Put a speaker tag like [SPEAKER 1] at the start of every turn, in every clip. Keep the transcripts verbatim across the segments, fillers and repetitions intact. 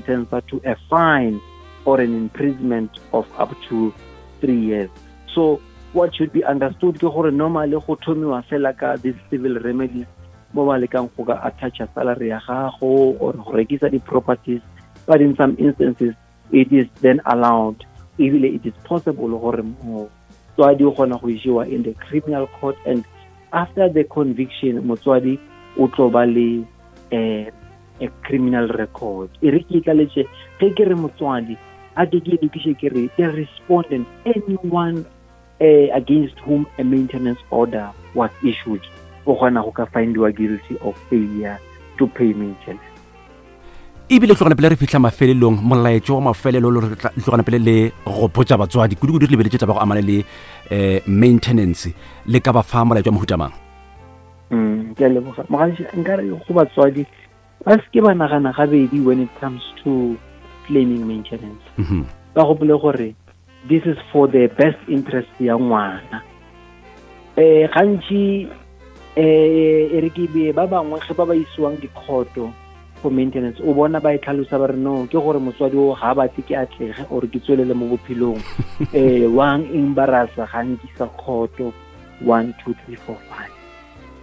[SPEAKER 1] sentenced to a fine or an imprisonment of up to three years. So what should be understood ke gore normally go thomiwa fela ka this civil remedies mo ba lekang go ka attacha salary ya gago or go rekisa di-properties but in some instances it is then allowed ebile it is possible gore motswadi o kgona go isiwa in the criminal court and after the conviction motswadi o tlo ba le eh, a criminal record e re ke tlaletse ge ke re motswadi a ke ke lokiše ke re the respondent anyone uh, against whom a maintenance order was issued o kgona go ka findiwa guilty of failure to pay maintenance
[SPEAKER 2] ebile tlogana pele re fitlha mafelelong molaetšo wa mafelelo le re tlogana pele le go botša batswadi kudu-kudu re lebeletše taba go amana le um maintenance le ka ba fa molaetšo wa mohuta mang
[SPEAKER 1] mm, ke a leboga mogaši nkare go batswadi ba se ke ba nagana gabedi when it comes to claiming maintenance
[SPEAKER 2] Mhm.
[SPEAKER 1] ba gopole gore this is for the best interest ya ngwana eh gantši eh e re ke be ba bangwe ge ba ba isiwang dikhoto for maintenance o bona ba e tlhalosa ba re no ke gore motswadi o ga a batle ke atlege or ke tswelele mo bophelong eh wang embarrassa ga nkisa khoto one two three four five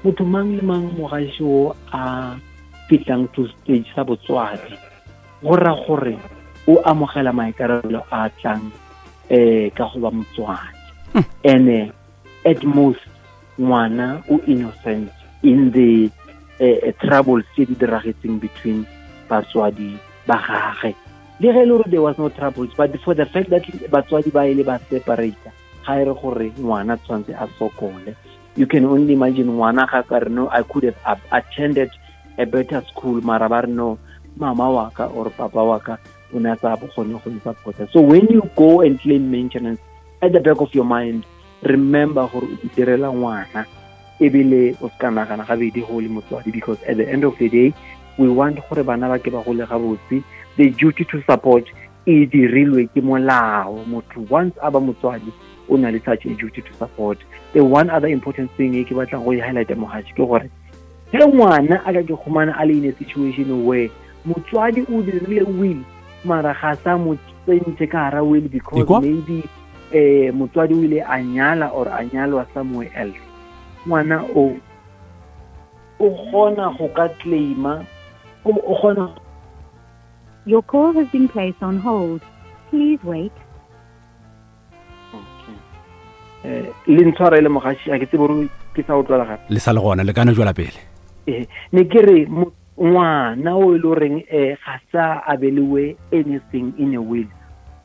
[SPEAKER 1] motho mang le mang mogaši o a fitlang to stage sa botswadi go ra gore o amogela maikarabelo a tlang eh ka go ba motswadi ene at most ngwana o innocent in the eh, troubles tse di diragetseng between batswadi ba gage le ge e le gore there was no troubles but for the fact that batswadi ba ile ba separate ga e re gore ngwana tshwanetse a sokole you can only imagine ngwana ga ka re no i could have attended a better school mara ba re no mama wa ka or papa wa ka o ne a sa bokgone go nsupporta so when you go and claim maintenance at the back of your mind remember gore o direla ngwana ebile o se ka nagana gabedi go le motswadi because at the end of the day we want gore bana ba ke ba gole gabotse the duty to support e dirilwe ke molao motho once a ba motswadi o na le such a duty to support the one other important thing e ke batlang go e highlighta mogatši ke gore ge ngwana a ka ke khumana a le in a situation where motswadi o dirile will mara ga sa mo tsentse ka hara will because
[SPEAKER 2] Ikwa?
[SPEAKER 1] maybe eh motswadi o ile a nyala or a nyalwa somewhere else ngwana o o kgona go ka claima o o kgona
[SPEAKER 3] Your call has been placed on hold. Please wait.
[SPEAKER 1] okay. eh le ntshwarele mogaši a ke tsebe gore ke sa utlwala gape
[SPEAKER 2] le sa le gona le kana jwala pele
[SPEAKER 1] eh ne ke re mo- ngwana o e le goreng um ga sa abeliwe anything in a will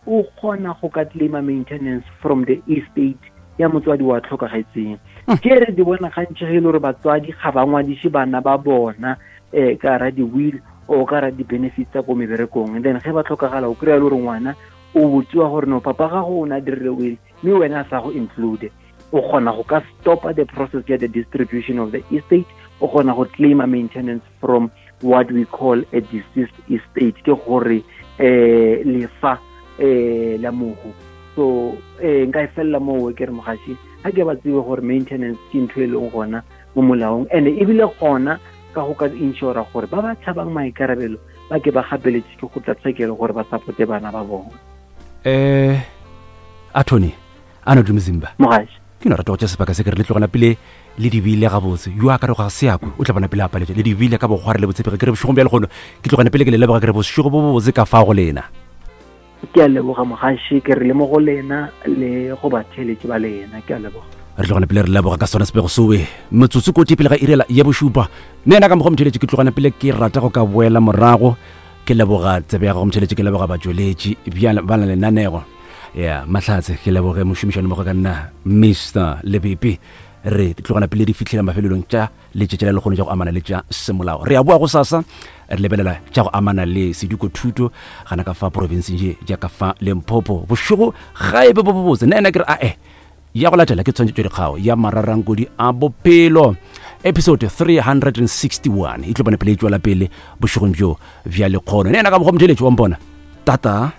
[SPEAKER 1] o kgona go ka claima maintenance from the estate ya motswadi wa tlhokagetseng ke re di bona gantši ge e le gore batswadi ga ba ngwadiše bana ba bona um ka ra di-will o ka ra di-benefits tsa ko meberekong and then ge ba tlhokagala o kry-a le gore ngwana o botsiwa gore no papa gago o ne a dirile will mme wena a sa go include o kgona go ka stopa the process ya the distribution of the estate o kgona go claima maintenance from what we call a deceased estate ke gore eh lefa eh la mohu so eh nka e felela moo ke re mogaši ga ke ba tsebe gore maintenance ke ntho e leng gona mo molaong and ebile gona ka go ka insura gore ba ba tshabang maikarabelo ba ke ba gapeletse ke go tla tshekelo gore ba supporte bana ba bona
[SPEAKER 2] eh attorney Arnold Mzimba
[SPEAKER 1] mogaši
[SPEAKER 2] ke no rata go tša sebaka se ke re le tlogana pele le dibile gabotse yo a ka re ga se akwe o tla bona pele a paletše le dibile ka bokgware le botshepege ke re bošegong bja legono ke tlogana pele ke le leboga ke re bošego bo bobotse ka fa go lena
[SPEAKER 1] ke a leboga mogaši ke re le mo go lena le go batheeletši ba lena ke a leboga
[SPEAKER 2] re tlogana pele re leboga ka sona sepego sowe metsotso koti pele ga irela ya bošupa nna ena ka mokgwa motheletši ke tlogana pele ke rata go ka boela morago ke leboga tsebe ya gago motheletši ke leboga batšweletši bjale ba na lenanego ya mahlatse ke leboge mošomišano mmogo ka nna mr lebepe re tlogana pele di fitlhela mafelelong tša letšatši la lekgono tša go amana le tša semolao re a boa go sasa re lebelela tša go amana le seduko thuto gana ka fa provinceng ye jaaka fa limpopo bošego ga e be bo bobotse nna ena ke re ae ya go latela ke tshwantšhetšo dikgao ya mararankodi a bophelo episode three hundred and sixty one e tlo bone pele e tswela pele bošegong bjo bja lekgono nna ena ka mokgwa motheletši wa mpona tata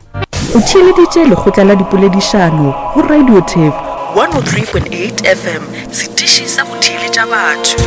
[SPEAKER 4] O theeleditše lekgotla la dipoledišano go Radio Turf
[SPEAKER 5] one oh three point eight F M, setiši sa go theeletša batho.